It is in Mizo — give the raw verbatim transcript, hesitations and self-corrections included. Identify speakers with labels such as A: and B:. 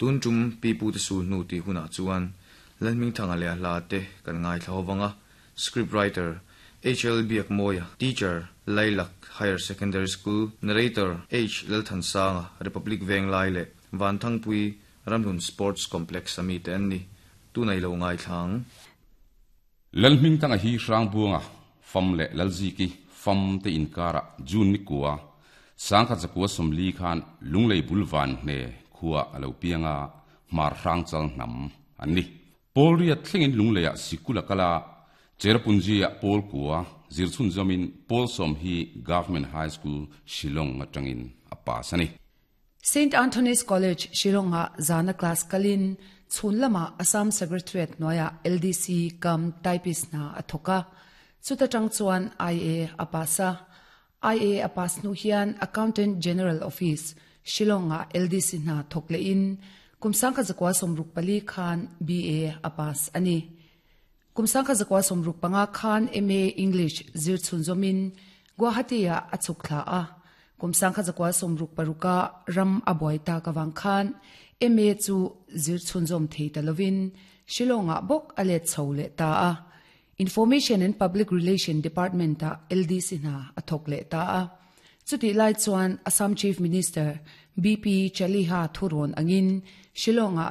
A: Tun tum pi pu te sul hnu tih hunah chuan Lalhmingthanga leh a hla te kan ngaithla hovanga script writer H L Biakmawia, teacher, Lailak Higher Secondary School, narrator H Lalthansanga, Republic Venglai leh Vanthangpui Ramhlun Sports Complex ami te an ni. Tunah i lo ngaithla ang.
B: Lalhmingthanga hi Hrangbuanga fam leh Lalziki fam te inkara June ni kua sangkhat zakua sawmli khan Lunglei bul Vanhne khua a lo pianga Hmar Hrangchal hnam an ni. Pawl riat thlengin Lungleiah sikul a kal a, Cherrapunji-ah pawl kua zir chhunzawmin pawl sawm hi Government High School Shillong atangin a pass a ni.
C: Saint Anthony's College Shillong-ah zana class kalin chhun lamah Assam Secretariat hnuaiah L D C cum typist hna a thawk a, chuta tang chuan I A a pass a. I A a pass hnu hian Accountant General Office, Shillong-ah L D C hna thawk lehin kum sangkhat zakua sawmruk pali khan B A a pass a ni. Kum sangkhat zakua sawmruk panga khan M A English zir chhunzawmin Guwahati-ah a chhuk thla a. Kum sangkhat zakua sawmruk paruka ram a buai tak avang khan M A chu zir chhunzawm thei ta lovin Shillong-ah bawk a let chho leh ta a. Information and Public Relation Department-ah L D C hna a thawk leh ta a. Chutih lai chuan Assam Chief Minister B P Chaliha thurawn angin Shillong-ah